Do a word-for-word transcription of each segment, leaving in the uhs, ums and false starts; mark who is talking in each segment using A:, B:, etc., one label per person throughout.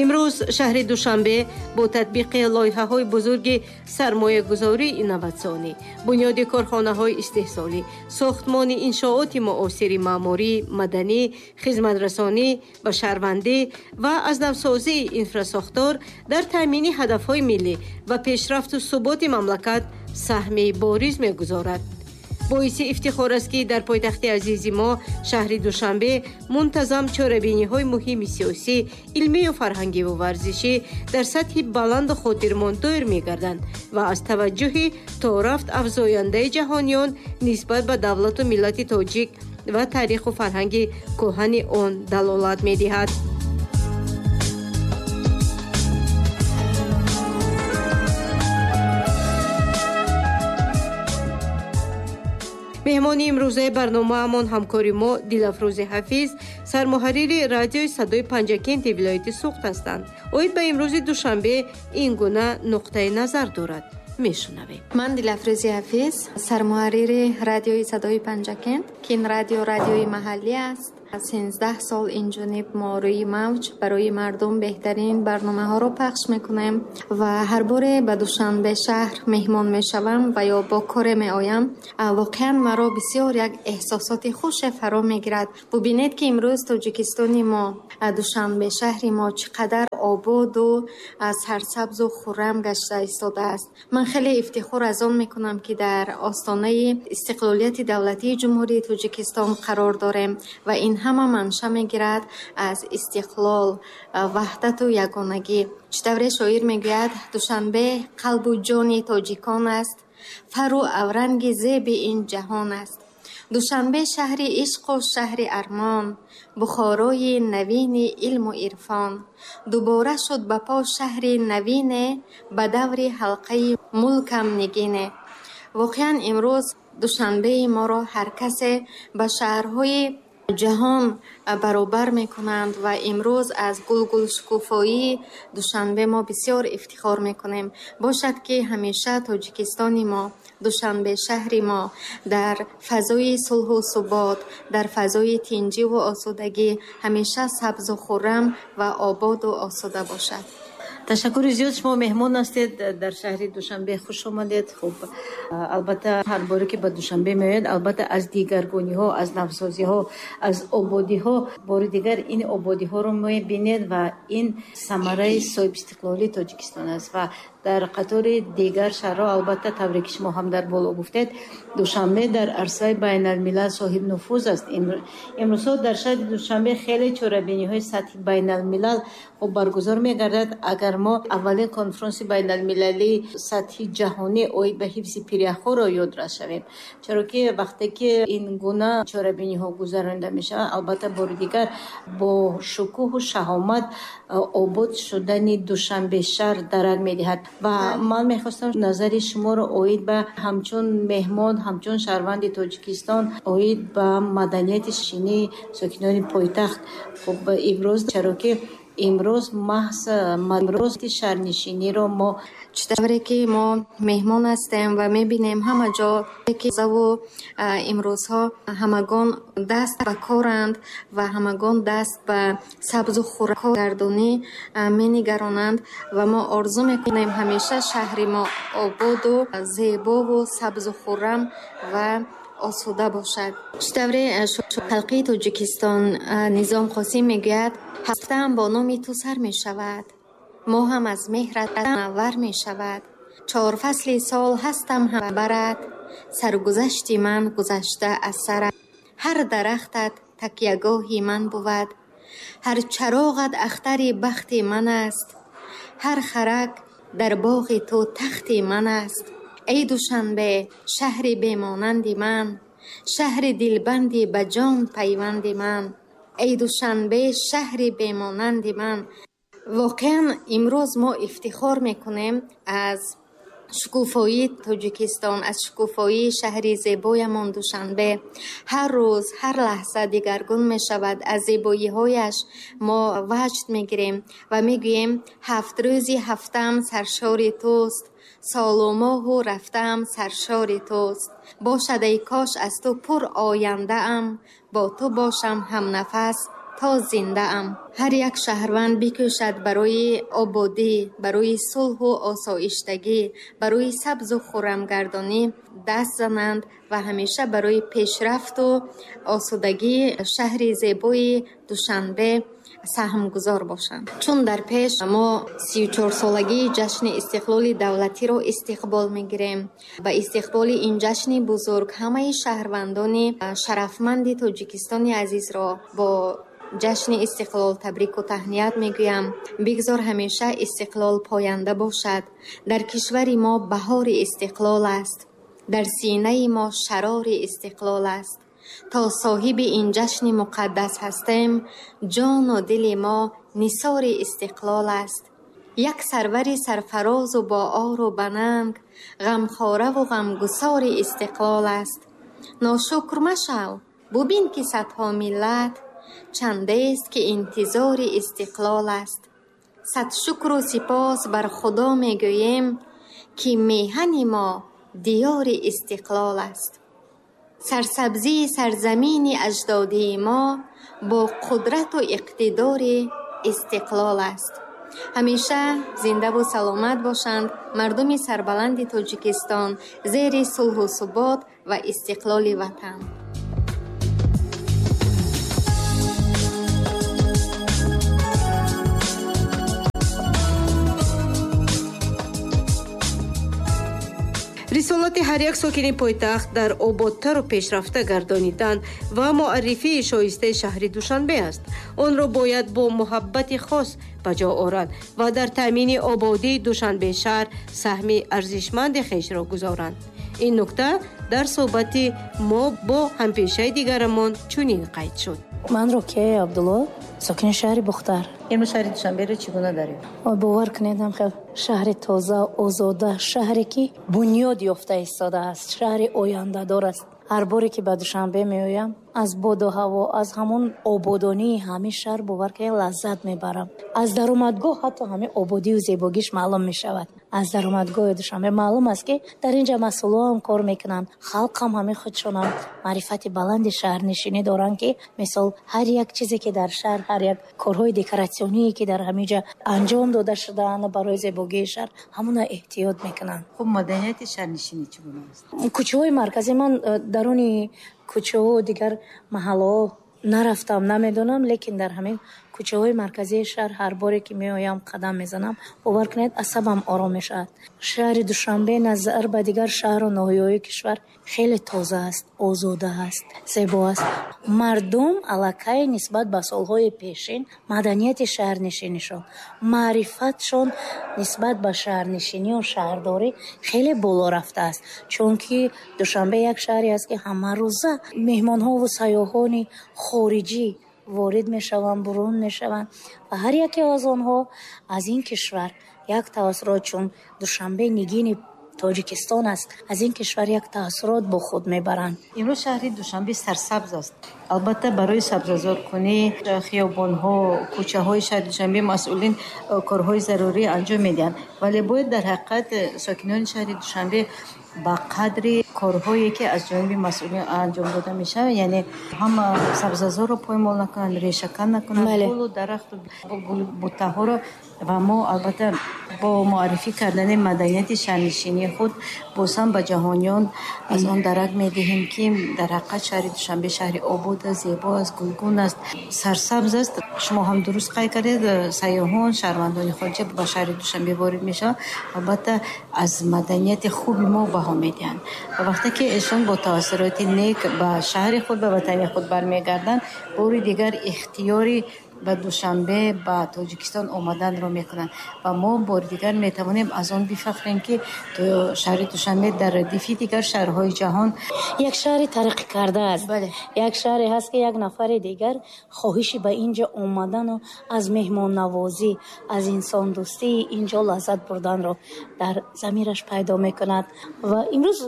A: Имрӯз шаҳри Душанбе бо татбиқи лоиҳаҳои бузурги сармоягузории инноватсионӣ, бунёди корхонаҳои истеҳсолӣ, сохтмони иншооти муосири маъмурӣ, маданӣ, хизматрасонӣ ва шаҳрвандӣ ва аз навсозии инфрасохтор дар таъмини ҳадафҳои миллӣ ва пешрафту суботи мамлакат саҳми бориз мегузорад. Боиси ифтихор аст, ки дар пойтахти азизи мо шаҳри Душанбе мунтазам чорабиниҳои муҳими сиёсӣ, илмию фарҳангиву варзишӣ дар сатҳи баланду хотирмон доир мегарданд ва аз таваҷҷӯҳи торафт афзояндаи ҷаҳониён нисбат ба давлату миллати тоҷик ва таъриху фарҳанги кӯҳани он далолат медиҳад. Меҳмони имрӯзаи барномаамон ҳамкори мо Дилафрӯзи Ҳафиз, сармуҳаррири радиои Садои Панҷакенти вилояти Суғд ҳастанд. Оид ба имрӯзи Душанбе ин гуна нуқтаи назар дорад. Мешунавем.
B: Ман Дилафрӯзи Ҳафиз, сармуҳаррири радиои Садои Панҷакент, ки ин радио радиои маҳаллӣ аст. Сенздаҳ сол инҷониб мо рӯи мавҷ барои мардум беҳтарин барномаҳоро пахш мекунем ва ҳар боре ба Душанбе шаҳр меҳмон мешавам ва ё бо коре меоям, воқеан маро бисёр як эҳсосоти хуше фаро мегирад. Бубинед, ки имрӯз Тоҷикистони мо, Душанбе шаҳри мо чӣ қадар ободу сарсабзу хуррам гашта истодааст. Ман хеле ифтихор аз он мекунам, ки дар остонаи истиқлолияти давлатии Ҷумҳурии Тоҷикистон қарор дорем ва ин ҳама манша мегирад аз истиқлол, ваҳдату ягонагӣ. Чӣ тавре шоир мегӯяд, Душанбе қалбу ҷони тоҷикон аст, фару авранги зеби ин ҷаҳон аст. Душанбе шаҳри ишқу шаҳри армон, Бухорои навини илму ирфон. Дубора шуд ба по шаҳри навине, ба даври ҳалқаи мулкам нигине. Воқеан имрӯз Душанбеи моро ҳар касе ба шаҳрҳои ҷаҳон баробар мекунанд ва имрӯз аз гулгулшукуфоии Душанбе мо бисёр ифтихор мекунем. Бошад, ки ҳамеша Тоҷикистони мо, Душанбе шаҳри мо дар фазои сулҳу субот, дар фазои тинҷиву осудагӣ ҳамеша сабзу хуррам ва ободу осуда бошад.
A: Ташаккури зиёд, шумо меҳмон ҳастед дар шаҳри Душанбе, хуш омадед. Хуб, албатта ҳар боре ки ба Душанбе меояд, албатта аз дигаргуниҳо, аз навсозиҳо, аз ободиҳо бори дигар ин ободиҳоро мебинед ва ин самараи соҳибистиқлолии Тоҷикистон аст ва дар қатори дигар шаҳрҳо, албатта тавре ки шумо ҳам дар боло гуфтед, Душанбе дар арсаи байналмилал соҳибнуфуз аст. Имрӯзҳо дар шаҳри Душанбе хеле чорабиниҳои сатҳи байналмилал хуб баргузор мегардад. Агар мо аввалин конфронси байналмилалии сатҳи ҷаҳонӣ оид ба ҳифзи пиряхҳоро ёдрас шавем, чаро ки вақте ки ин гуна чорабиниҳо гузаронида мешаванд, албатта бори дигар бо шукӯҳу шаҳомат обод шудани Душанбе шаҳр дарак медиҳад. Ва ман мехостам назари шуморо оид ба ҳамчун меҳмон, ҳамчун шаҳрванди Тоҷикистон оид ба маданияти шинии сокинони пойтахт. Хуб, имрӯз, чаро ки имрӯз маҳз имрӯзи шаҳрнишиниро мо
B: чӣ тавре ки мо меҳмон ҳастем ва мебинем ҳама ҷо ки заву имрӯзҳо ҳамагон даст ба коранд ва ҳамагон даст ба сабзу хуррагардонӣ менигаронанд ва мо орзу мекунем ҳамеша шаҳри мо ободу зебову сабзу хуррам ва осуда бошад. Чӣ тавре халқи Тоҷикистон Низом Қосим мегӯяд, ҳафтаам бо номи ту сар мешавад, моҳам аз меҳрат мунаввар мешавад, чор фасли сол ҳастам ҳам барад, саргузашти ман гузашта аз сарат, ҳар дарахтат такягоҳи ман бувад, ҳар чароғат ахтари бахти ман аст, ҳар харак дар боғи ту тахти ман аст. Эй Душанбе, шаҳри бемонанди ман, шаҳри дилбанди ба ҷон пайванди ман, эй Душанбе, шаҳри бемонанди ман. Воқеан имрӯз мо ифтихор мекунем аз шукуфоии Тоҷикистон, аз шукуфоии шаҳри зебоямон Душанбе. Ҳар рӯз, ҳар лаҳза дигаргун мешавад. Аз зебоиҳояш мо ваҷд мегирем ва мегӯем ҳафт рӯзи ҳафтам саршори туст, солу моҳу рафтам саршори туст. Бошад эй кош аз ту пур ояндаам, бо ту бошам ҳамнафас То зиндаам. Ҳар як шаҳрванд бикӯшад барои ободӣ, барои сулҳу осоиштагӣ, барои сабзу хуррамгардонӣ даст зананд ва ҳамеша барои пешрафту осудагии шаҳри зебои Душанбе саҳмгузор бошанд. Чун дар пеш мо сию чорсолагии ҷашни истиқлоли давлатиро истиқбол мегирем. Ба истиқболи ин ҷашни бузург ҳамаи шаҳрвандони шарафманди Тоҷикистони азизро бо ҷашни истиқлол табрику таҳният мегӯям. Бигзор ҳамеша истиқлол поянда бошад. Дар кишвари мо баҳори истиқлол аст. Дар синаи мо шарори истиқлол аст. То соҳиби ин ҷашни муқаддас ҳастем, ҷону дили мо нисори истиқлол аст. Як сарвари сарфарозу бо ору бананг, ғамхораву ғамгусори истиқлол аст. Ношукр машав, бубин ки садҳо миллат чандест ки интизори истиқлол аст. Сад шукру сипос бар Худо мегӯем, ки меҳани мо диёри истиқлол аст. Сарсабзии сарзамини аҷдодии мо бо қудрату иқтидори истиқлол аст. Ҳамеша зиндаву саломат бошанд мардуми сарбаланди Тоҷикистон зери сулҳу субот ва истиқлоли ватан.
A: Рисолати ҳар як сокини пойтахт дар ободтару пешрафта гардонидан ва муаррифии шоистаи шаҳри Душанбе аст. Онро бояд бо муҳаббати хос ба ҷо оранд ва дар таъмини ободии Душанбе шаҳр саҳми арзишманди хешро гузоранд. Ин нукта дар суҳбати мо бо ҳампешаи дигарамон чунин қайд шуд.
C: Ман Рукияи Абдулло, сокини шаҳри Бухтар.
A: Имрӯз шаҳри Душанберо чӣ гуна дарёфт?
C: Бовар кунед, хел шаҳри тоза, озода, шаҳре ки бунёд ёфта истодааст, шаҳри ояндадор аст. Ҳар боре ки ба Душанбе меоям, аз боду ҳаво, аз ҳамон ободонии ҳамин шаҳр бовар кунед лаззат мебарам. Аз даромадгоҳ ҳатто ҳамин ободию зебогиш маълум мешавад. Аз даромадгоҳи Душанбе маълум аст, ки дар инҷа масъулоам кор мекунанд, халқам ҳамин худшонам маърифати баланди шаҳрнишинӣ доранд, ки мисол ҳар як чизе ки дар шаҳр, ҳар як корҳои декоратсионие ки дар ҳамин ҷа анҷом дода шудаанд барои зебогии шаҳр, ҳамона эҳтиёт мекунанд.
A: Хуб, маданияти шаҳрнишинӣ чӣ гуна аст?
C: Кӯчаҳои марказӣ, ман даруни кӯчаҳо дигар маҳаллаҳо нарафтам, намедонам, лекин дар ҳамин кӯчаҳои марказии шаҳр ҳар боре ки меоям қадам мезанам, бовар кунед асабам ором мешавад. Шаҳри Душанбе назар ба дигар шаҳру ноҳияҳои кишвар хеле тоза аст, озода аст, зебо аст. Мардум аллакай нисбат ба солҳои пешин маданияти шаҳрнишинишон, маърифатшон нисбат ба шаҳрнишинию шаҳрдорӣ хеле боло рафтааст. Чунки Душанбе як шаҳре аст, ки ҳамарӯза меҳмонҳову сайёҳони хориҷӣ ворид мешаванд, бурун мешаванд ва ҳар яке аз онҳо аз ин кишвар як таассурот, чун Душанбе нигини Тоҷикистон аст, аз ин кишвар як таассурот бо худ мебаранд.
A: Имрӯз шаҳри Душанбе сарсабз аст. Албатта барои сабзазоркунӣ хиёбонҳо, кӯчаҳои шаҳри Душанбе масъулин корҳои зарурӣ анҷом медиҳанд, вале бояд дар ҳақиқат сокинони шаҳри Душанбе ба қадри корҳое ки аз ҷониби масъулин анҷом дода мешавад, яъне ҳама сабзазорро поймол накунанд, решакан накунанд, гулу дарахту гулбуттаҳоро. Ва мо албатта бо муаррифӣ кардани маданияти шаҳрнишинии худ боз ҳам ба ҷаҳониён аз он дарак медиҳем, ки дар ҳақиқат шаҳри Душанбе шаҳри обод аст, зебо аст, гулгун аст, сарсабз аст. Шумо ҳам дуруст қайд кардед, сайёҳон, шаҳрвандони хориҷа ба шаҳри Душанбе ворид мешаванд, албатта аз маданияти хуби мо баҳо медиҳанд. Ва вақте ки эшон бо таассуроти нек ба шаҳри худ, ба ватани худ бармегарданд, бори дигар ихтиёри ба Душанбе, ба Тоҷикистон омаданро мекунанд ва мо бори дигар метавонем аз он бифахрем, ки шаҳри Душанбе дар радифи дигар шаҳрҳои ҷаҳон
C: як шаҳри тараққӣ карда аст. Як шаҳре ҳаст, ки як нафари дигар хоҳиши ба инҷо омадану аз меҳмоннавозӣ, аз инсондӯстии инҷо лаззат бурданро дар замираш пайдо мекунад. Ва имрӯз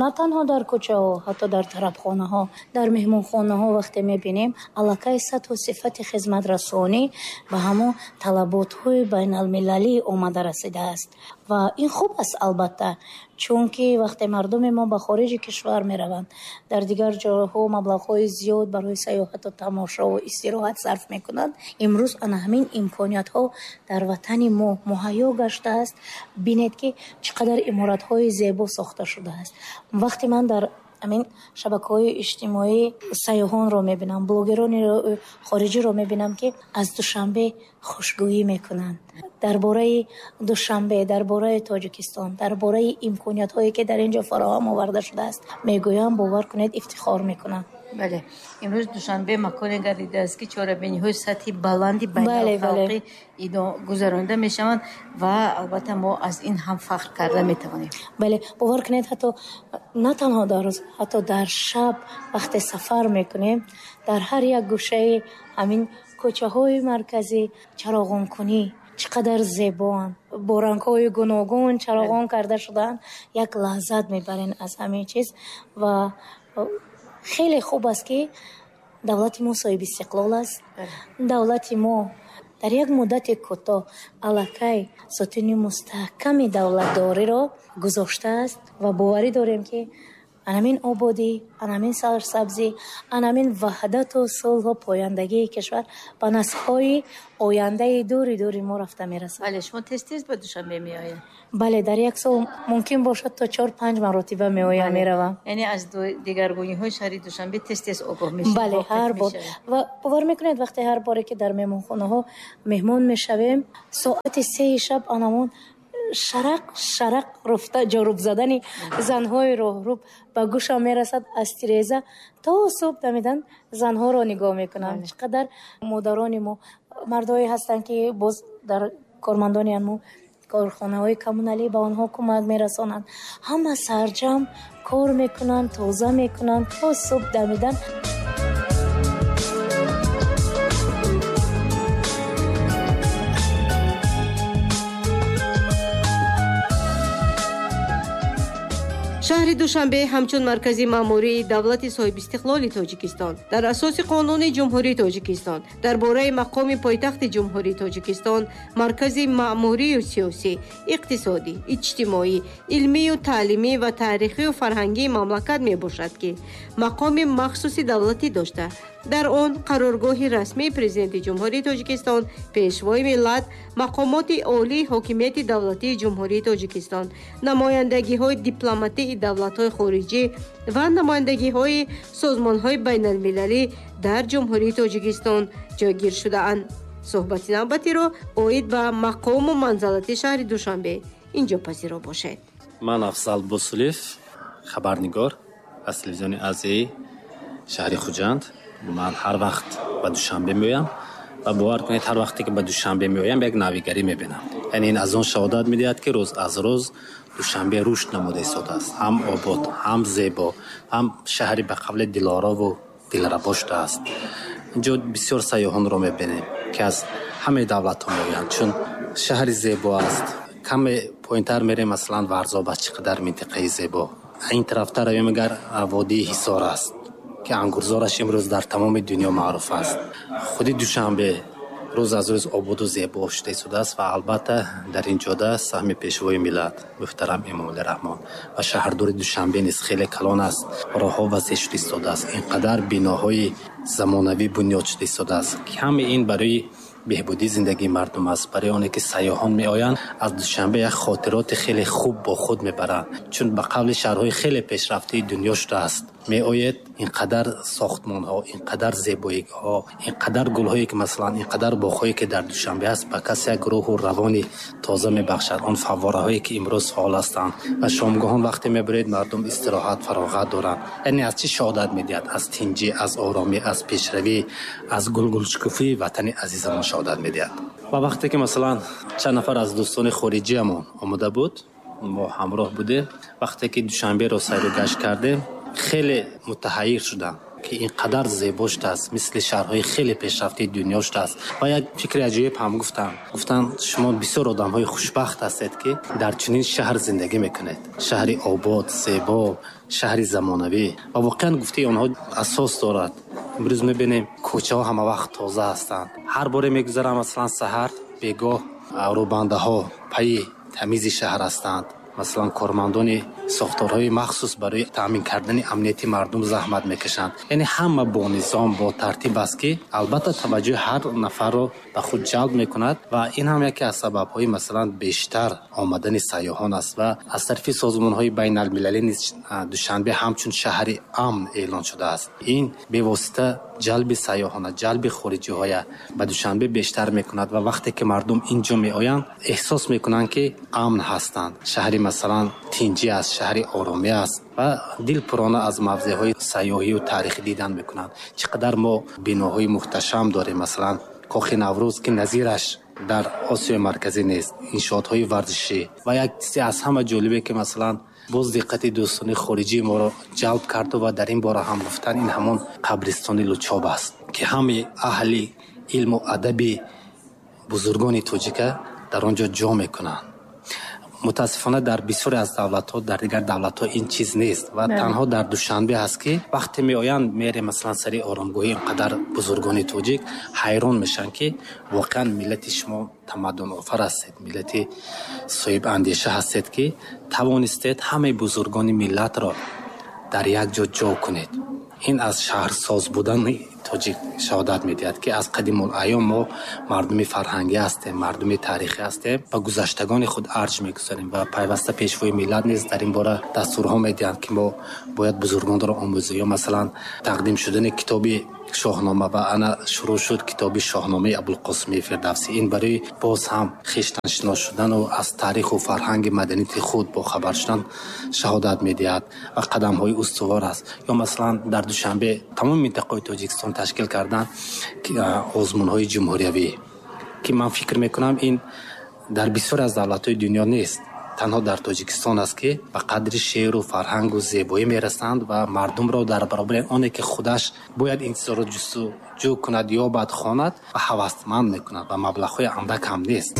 C: на танҳо дар кӯчаҳо, ҳатто дар тарабхонаҳо, дар меҳмонхонаҳо вақте мебинем, аллакай сатҳу сифати хизмат Хизматрасонӣ ба ҳамон талаботҳои байналмилалӣ омада расидааст ва ин хуб аст албатта, чунки вақте мардуми мо ба хориҷи кишвар мераванд, дар дигар ҷойҳо маблағҳои зиёд барои сайёҳату тамошову истироҳат сарф мекунанд. Имрӯз ана ҳамин имкониятҳо дар ватани мо муҳайё гаштааст. Бинед, ки чӣ қадар иморатҳои зебо сохта шудааст. Вақте ман дар ҳамин шабакаҳои иҷтимоӣ сайёҳонро мебинам, блогерони хориҷиро мебинам, ки аз Душанбе хушгӯӣ мекунанд, дар бораи Душанбе, дар бораи Тоҷикистон, дар бораи имкониятҳое, ки дар ин ҷо фароҳам оварда шудааст мегӯям, бовар кунед, ифтихор мекунам.
A: Бале, имрӯз Душанбе маконе гардидааст, ки чорабиниҳои сатҳи баланди байналхалқӣ гузаронида мешаванд ва албатта мо аз ин ҳам фахр карда метавонем.
C: Бале, бовар кунед, ҳатто на танҳо дар рӯз, ҳатто дар шаб вақте сафар мекунем, дар ҳар як гӯшаи ҳамин кӯчаҳои марказӣ чароғонкунӣ чӣ қадар зебоанд, бо рангҳои гуногун чароғон карда шудаанд. Як лаззат мебарем аз ҳамин чиз ва хеле хуб аст, ки давлати мо соҳиби истиқлол аст. Давлати мо дар як муддати кӯтоҳ аллакай сутуни мустаҳками давлатдориро гузоштааст ва боварӣ дорем, ки анамин ободӣ, анамин сарсабзӣ, анамин ваҳдату сулҳу пояндагии кишвар ба наслҳои ояндаи дури дури мо рафта мерасад.
A: Бале, шумо тез тез ба Душанбе меояд?
C: Бале, дар як сол мумкин бошад то чор панҷ маротиба меоям, меравам.
A: Яъне аз дигаргуниҳои шаҳри Душанбе тез тез огоҳ мешавед?
C: Бале, ҳар бор. Ва бовар мекунед, вақте ҳар боре ки дар меҳмонхонаҳо меҳмон мешавем, соати сеи шаб анамон шарақ шарақ руфта ҷоруб задани занҳои роҳруб ба гӯшам мерасад. Аз тиреза то субҳ дамидан занҳоро нигоҳ мекунам. Чӣ қадар модарони мо, мардое ҳастанд, ки боз дар кормандони мо корхонаҳои коммуналӣ ба онҳо кӯмак мерасонанд. Ҳама сарҷам кор мекунанд, тоза мекунанд, то субҳ дамидан.
D: Шаҳри Душанбе ҳамчун маркази маъмурии давлати соҳибистиқлоли Тоҷикистон дар асоси қонуни Ҷумҳурии Тоҷикистон дар бораи мақоми пойтахти Ҷумҳурии Тоҷикистон маркази маъмурию сиёсӣ, иқтисодӣ, иҷтимоӣ, илмию таълимӣ ва таърихию фарҳангии мамлакат мебошад, ки мақоми махсуси давлатӣ дошта, дар он қароргоҳи расмии Президенти Ҷумҳурии Тоҷикистон, Пешвои миллат, мақомоти олии ҳокимияти давлатии Ҷумҳурии Тоҷикистон, намояндагиҳои дипломатии давлатҳои хориҷӣ ва намояндагиҳои созмонҳои байналмилалӣ дар Ҷумҳурии Тоҷикистон ҷойгир шудаанд. Суҳбати навбатиро оид ба мақому манзалати шаҳри Душанбе инҷо пазиро бошед.
E: Ман Афзал Босулев, хабарнигор аз телевизиони Азияи шаҳри Хуҷанд. Ман ҳар вақт ба Душанбе меоям ва бовар кунед, ҳар вақте ки ба Душанбе меоям, як навигарӣ мебинам. Яъне ин аз он шаҳодат медиҳад, ки рӯз аз рӯз Душанбе рушд намуда истодааст, ҳам обод, ҳам зебо, ҳам шаҳри ба қавли дилорову дилрабо шудааст. Инҷо бисёр сайёҳонро мебинем, ки аз ҳамаи давлатҳо меоянд, чун шаҳри зебо аст. Каме поинтар мерем, масалан Варзоб аст, чӣ қадар минтақаи зебо. Ин тарафтар равем, агар водии Ҳисор аст, ки ангурзораш имрӯз дар тамоми дунё маъруф аст. Худи Душанбе рӯз аз рӯз ободу зебо шуда истодааст ва албатта дар ин ҷода саҳми Пешвои миллат муҳтарам Эмомалӣ Раҳмон ва шаҳрдори Душанбе низ хеле калон аст. Роҳҳо васеъ шуда истодааст, ин қадар биноҳои замонавӣ бунёд шуда истодааст, ки ҳамаи ин барои беҳбудии зиндагии мардум аст. Барои оне ки сайёҳон меоянд, аз Душанбе як хотироти хеле хуб бо худ мебаранд, чун ба қавли шаҳрҳои хеле пешрафтаи дунё шудааст. Меоед, ин қадар сохтмонҳо, ин қадар зебоиҳо, ин қадар гулҳое ки масалан, ин қадар боғҳое ки дар Душанбе аст, ба кас як рӯҳу равони тоза мебахшад. Он фаввораҳое ки имрӯз фаъол ҳастанд ва шомгоҳон вақте мебаред, мардум истироҳат, фароғат доранд. Яъне аз чӣ шаҳодат медиҳад? Аз тинҷӣ, аз оромӣ, аз пешравӣ, аз гулгулшукуфии ватани азизамон шаҳодат медиҳад. Ва вақте ки масалан чанд нафар аз дӯстони хориҷиамон омода буд, мо ҳамроҳ будем, вақте ки Душанберо сайру гашт кардем, хеле мутаҳайир шудам, ки ин қадар зебо шудааст, мисли шаҳрҳои хеле пешрафтаи дунё шудааст. Ва як фикри аҷоиб ҳам гуфтам. Гуфтам, шумо бисёр одамҳои хушбахт ҳастед, ки дар чунин шаҳр зиндагӣ мекунед. Шаҳри обод, зебо, шаҳри замонавӣ. Ва воқеан гуфтаи онҳо асос дорад. Имрӯз мебинем, кӯчаҳо ҳама вақт тоза ҳастанд. Ҳар боре мегузарам, масалан, саҳар бегоҳ, рӯбандаҳо пайи тамизи шаҳр ҳастанд. Масалан, кормандони сохторҳои махсус барои таъмин кардани амнияти мардум заҳмат мекашанд. Яъне ҳама бо низом, бо тартиб аст, ки албатта таваҷҷӯҳи ҳар нафарро ба худ ҷалб мекунад ва ин ҳам яке аз сабабҳои, масалан, бештар омадани сайёҳон аст. Ва аз тарафи созмонҳои байналмилалӣ низ Душанбе ҳамчун шаҳри амн эълон шудааст. Ин бевосита ҷалби сайёҳона, ҷалби хориҷиҳоя ба Душанбе бештар мекунад ва вақте ки мардум ин ҷо меоянд, эҳсос мекунанд, ки амн ҳастанд. Шаҳри, масалан, тинҷӣ аст, шаҳри оромӣ аст ва дилпурона аз мавзеъҳои сайёҳию таърихӣ дидан мекунанд. Чӣ қадар мо биноҳои мухташам дорем, масалан, Кохи Наврӯз, ки назираш дар Осиёи Марказӣ нест, иншоотҳои варзишӣ. Ва як чизе аз ҳама ҷолибе, ки, масалан, боз диққати дӯстони хориҷии моро ҷалб карду ва дар ин бора ҳам гуфтан, ин ҳамон қабристони Лучоб аст, ки ҳамаи аҳли илму адаби бузургони тоҷика дар он ҷо ҷо мекунанд. Мутаассифона, дар бисёре аз давлатҳо, дар дигар давлатҳо ин чиз нест ва танҳо дар Душанбе ҳаст, ки вақте меоянд, мере, масалан, сари оромгоҳи инқадар бузургони тоҷик, ҳайрон мешаванд, ки воқеан миллати шумо тамаддунофар ҳастед, миллати соҳибандеша ҳастед, ки тавонистед ҳамаи бузургони миллатро дар як ҷо ҷо кунед. Ин аз шаҳрсоз будани тоҷик шаҳодат медиҳад, ки аз қадимулайём мо мардуми фарҳангӣ ҳастем, мардуми таърихӣ ҳастем ва гузаштагони худ арҷ мегузорем. Ва пайваста Пешвои миллат низ дар ин бора дастурҳо медиҳанд, ки мо бояд бузургонро омӯзем. Ё, масалан, тақдим шудани китоби Шоҳнома ва ана шурӯъ шуд китоби Шоҳномаи Абулқосими Фирдавсӣ. Ин барои боз ҳам хештаншинос шудану аз таъриху фарҳанги маданияти худ бохабар шудан шаҳодат медиҳад ва қадамҳои устувор аст. Ё, масалан, дар Душанбе, тамоми минтақаҳои Тоҷикистон ташкил кардан озмунҳои ҷумҳуриявӣ, ки ман фикр мекунам, ин дар бисёре аз давлатҳои дунё нест, танҳо дар Тоҷикистон аст, ки ба қадри шеъру фарҳангу зебоӣ мерасанд ва мардумро дар баробари оне ки худаш бояд ин чизҳоро ҷустуҷӯ кунад, ёбад, хонад ва ҳавасманд мекунад ва маблағҳои андак ҳам нест.